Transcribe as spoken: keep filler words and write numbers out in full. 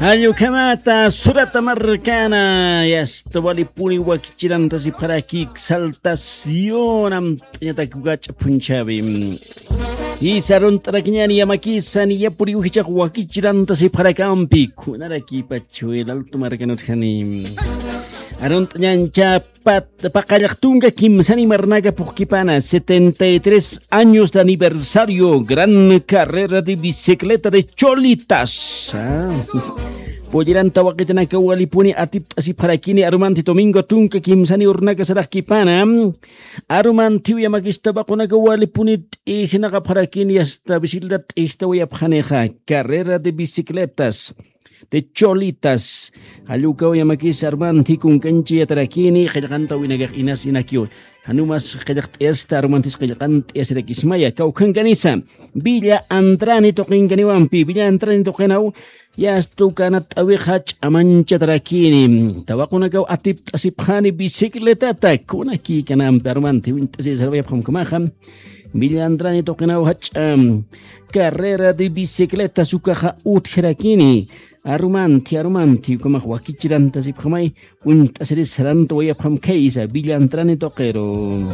Allukhamata surata markana, yasta walipuni wakichirantasipxaraki exaltación amt'añatak wach'a phunchhawi. Isa arunt'arakiñani yamakisa niyapuriw jichhax wakichirantasipxarakampi, kunarakipachu el alto markanutjani. Arunt'añancha pat paqallaq tunka kimsani marnaka phuqkipana, setenta y tres años de aniversario, gran carrera de bicicleta de cholitas. Ah. Pulliranta waqitanaka walipuni atipt'asipxarakini arumanti domingo tunka kimsani urnaka saraqkipana. Arumantiw yamakista waqunaka walipuni t'ijnaqapxarakini, hasta bicicleta t'ijtawayapxanixa, carrera de bicicletas de cholitas. Jallukaw yamakis arumanti kunkanchi yatarakini, qillqantawinakax inas inakiw. Janumas qillqt'ayasta arumantis qillqant'ayasirakismaya, kawkhankanisa. Villa Andrani tuqinkaniwampi, Villa Andrani tuqinaw, yasta ukanat t'awixa ch'amanchatarakini. Tawaqunakaw atipt'asipxani bicicletata, kunakikanampi arumanti uñt'asisarwayapxamkamaxa. Villa Andrani tuqinaw jach'a carrera de bicicletas ukaxa utjarakini. Arumanti, arumanti, ukhamax wakichirantasipxamay, uñt'asiris sarantawayapxamkaysa, Villa Andrani tuqiru.